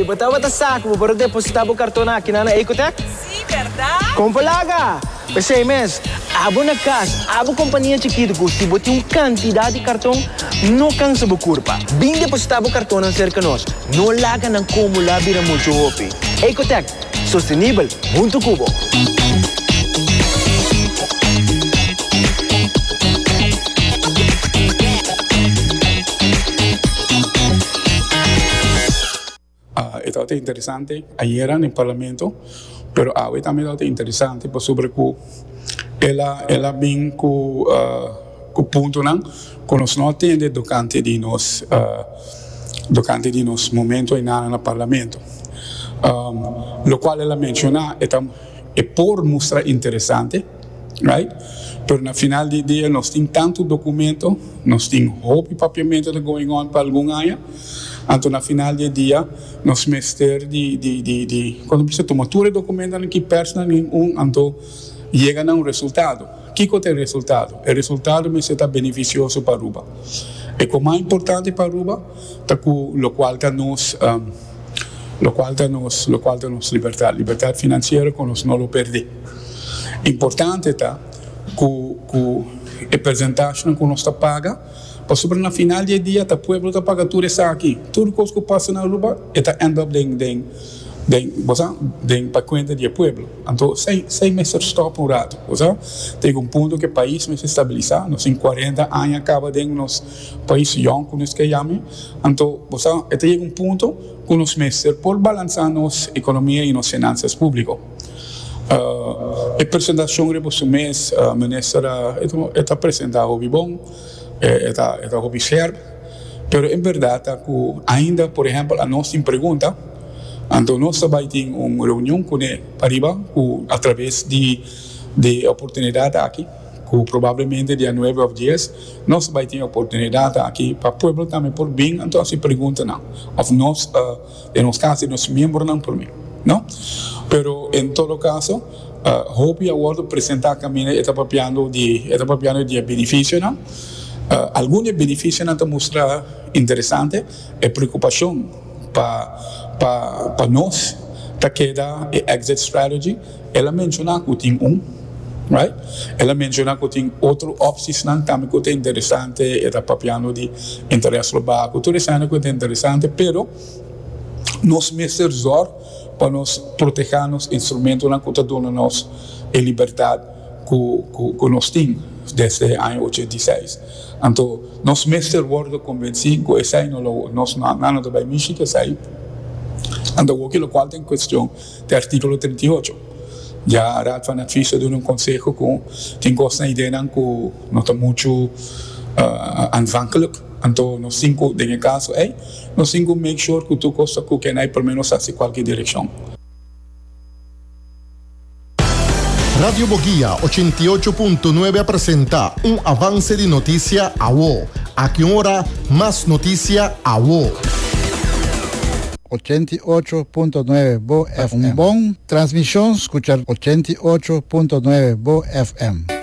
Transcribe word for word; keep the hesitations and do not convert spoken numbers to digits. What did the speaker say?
Bo tabata sa ku bo por depositá bo karton aki na Ecotech? Si, berdat? Kon laga! P'esei mes, abo na kas, abo kompania chikitu ku si bo tin un kantidat di karton, no kansa bo kurpa. Bin depositá bo karton serka nos. No laga nan akumulá bira muchu hopi. Ecotech, sostenibel, huntu ku bo. Uh, tabata interesante ayera den parlamento, pero awe tambe tabata interesante pasobra ku el a el a bin ku uh, ku puntonan ku nos no a tende durante di nos uh, durante di nos momento na na parlamento. Um, lokual el a menshoná e, e por mustra interesante, right? Pero na final di dia nos tin tantu dokumento, nos tin hopi papiamentu going on pa algun aña. Anto na final di dia nos mester di di di di kuando bo tuma tur dokumento ku personal un anto yega na un resultado. Kiko ta e resultado? E resultado mester ta benefisioso pa Aruba. I komo mas importante pa Aruba, ta ku lokual ta nos um, lokual ta nos lokual ta nos libertat, libertat finansiero ku nos no lo pèrdè. Importante ta ku ku e porshentahe ku nos ta paga, pasobra na final di dia, e pueblo ta paga tur esaki. Tur kos ku pasa na Aruba, ta end up den den den, bo den pa kuenta di pueblo. Anto, esei esei mester stòp un ratu, bo tin un punto ku e pais mester stabilisá, nos tin kuarenta aña kaba den nos pais yòn ku nos ke yama. Anto, bo tin un punto ku nos mester por balansá nos ekonomia i nos finansa públiko. Uh, e presentashon riba su mes, uh, minister ta presentá hopi bon, ta ta hopi scherp, pero en berdat ku ainda, por ehèmpel, nos tin pregunta, anto nos tambe tin un reunion kuné pariba, ku atraves di di oportunidat aki, ku probablemente dia nuebe òf dies, nos bai tin oportunidat aki pa pueblo tambe por bin, anto hasi preguntanan, òf nos, uh, den nos kaso, nos miembronan por bin, no? Pero en todo kaso, uh, hopi a wòrdu presentá kaminda e ta papiando di e ta papiando di benefisionan. Uh, algun benefisionan ta mustra interesante e preokupashon pa pa pa nos ta keda e exit strategy. El a menshoná ku tin un, right? El a menshoná ku tin otro opshonnan tambe ku ta interesante, e ta papiando di interes global, tur esei ku ta interesante, pero nos mester zorg pa nos protehá nos instrumentonan ku ta duna nos e libertat ku, ku, ku nos tin desde aña ochenta i seis. Anto, nos mester wòrdu konvensí ku esei no nos no no ta bai mishi ku esei. Anto, lokual tin kuestion di artíkulo trinta i ocho. Ya Raad van Advies a duna un konseho ku tin kos ideanan ku no ta muchu uh, aanvankelijk. Anto, nos tin ku, den kaso ei, nos tin ku make sure ku tur kos ku ku por lo menos hasi kualke direkshon. Radio Boguia ochenta i ocho punto nuebe a presentá un avanse di notisia awo. Aki ora, mas notisia awo. ochenta i ocho punto nuebe Bo F M. Un bon transmishon, skucha ochenta i ocho punto nuebe Bo F M.